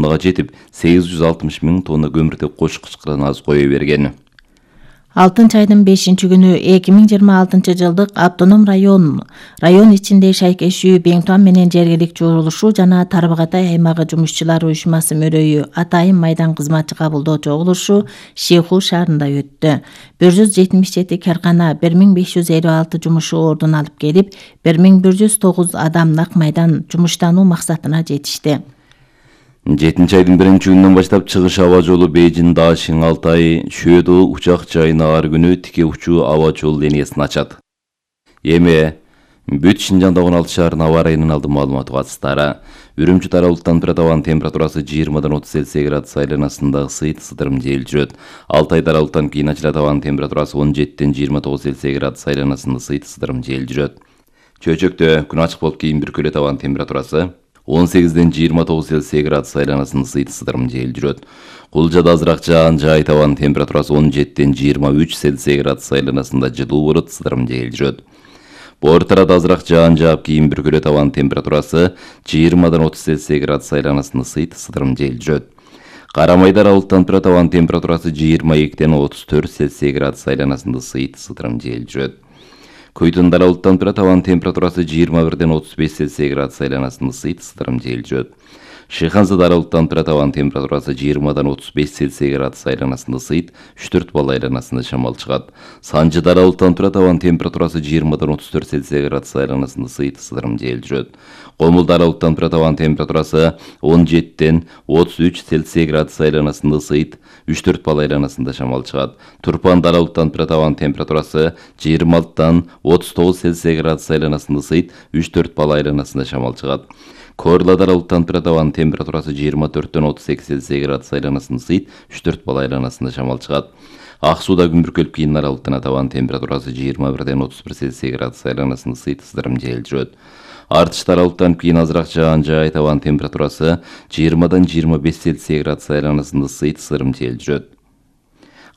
тоннага жетип, 860 000 тонна көмүртек кош кычкыран аз кое берген. Алтын чайдын 5-күнү 2026 жылдык автоном район ичинде шайкешүү Беңтуан менен жергиликтүү чогулушу жана Тарбағатай аймагы жумушчулар уюшмасы мөрөйү Атайын майдан кызматчы кабылдоо чогулушу Шейхул шаарында өттү. 177 каркана 1556 жумушу ордун алып келип, 1109 адам нак майдан жумуштануу максатына жетишти. 7 айдын 1-күнүнөн баштап чыгыш аба жолу Бейжин, Дашин, Алтай, Шөдө учак жайына ар күнү тике учуу аба жол линиясын ачат. Эми бүт Шинжанда 16 шаарынын аба ырайынын алдын маалыматы катыстары. Үрүмчү тарабылыктан табан температурасы 20-30 Цельсий градус айланасында ысыйт сыдырым жел жүрөт. Алтай тарабылыктан кийин ачыла табан температурасы 17-29 Цельсий градус айланасында ысыйт сыдырым жел жүрөт. Чөйчөктө күн ачык болуп кийин бир көлө табан температурасы 18-29 Цельсий градус айланасында ысыйт сыдырым жел жүрөт. Кулжада азыраак жаан жай табан температурасы 17-23 Цельсий градус айланасында жылуу болот, сыдырым жел жүрөт. Бортарада азыраак жаан жаап кийин бир көлө табан температурасы 20-30 Цельсий градус айланасында ысыйт сыдырым жел жүрөт. Карамайда аралыктан табан температурасы 22-34 Цельсий градус айланасында ысыйт сыдырым жел жүрөт. Көйтүн даралыктан табан температурасы 21-35 Цельсий градус айланасында ысыйт сыдырым жел жүрөт. Шыйханза даралыктан табан температурасы 20-35 Цельсий градус айланасында ысыйт 3-4 балл айланасында шамал чыгат. Санжы даралыктан табан температурасы 20-34 Цельсий градус айланасында ысыйт сыдырым жел жүрөт. Комул даралыктан табан температурасы 17-33 Цельсий градус айланасында ысыйт 3-4 балл айланасында шамал чыгат. Турпан даралыктан табан температурасы 26-39 Цельсий градус айланасында ысыйт 3-4 балл айланасында шамал чыгат. Корла даралыктан табан температурасы 24-38 Цельсий градус айланасында ысыйт 3-4 балл айланасында шамал чыгат. Ак сууда күн бүркөлүп кийин аралыктан табан температурасы 21-31 Цельсий градус айланасында ысыйт сыдырым жел жүрөт. Артыш даралыктан кийин азыраак жаан жай табан температурасы 20-25 Цельсий градус айланасында ысыйт сыдырым жел жүрөт.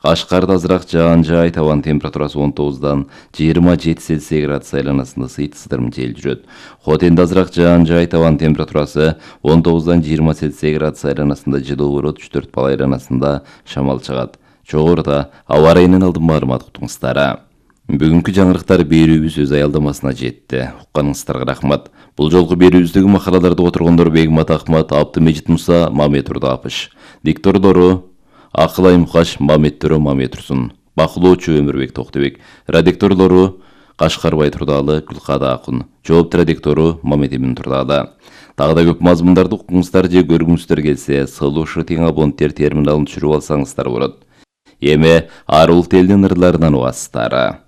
Кашкарда азыраак жаан жай табан температурасы 19-27 Цельсий градус айланасында ысыйт сыдырым жел жүрөт. Хотенде азыраак жаан жай табан температурасы 19-20 Цельсий градус айланасында жылуу болот, 3-4 балл айланасында шамал чыгат. Жогоруда аба ырайынын алдын маалымат уктуңуздар. Бүгүнкү жаңырыктар берүүбүз өз аялдамасына жетти. Укканыңыздарга рахмат. Бул жолку берүүбүздөгү макалаларды отургондор Бегмат Ахмат, Абдымежит Муса, Мамет Турдапыш. Диктордору Акылай Мукаш, Мамет Төрө, Мамет Турсун. Бакылоочу Өмүрбек Токтобек. Редакторлору Кашкарбай Турдалы, Гүлкада Акун. Жоопту редактору Мамет Эмин Турдалы. Дагы да көп мазмундарды укуңуздар же көргүңүздөр келсе, Сылушы тең абоненттер терминалын түшүрүп алсаңыздар болот. Эми ар улут элдин ырларынан угасыздар.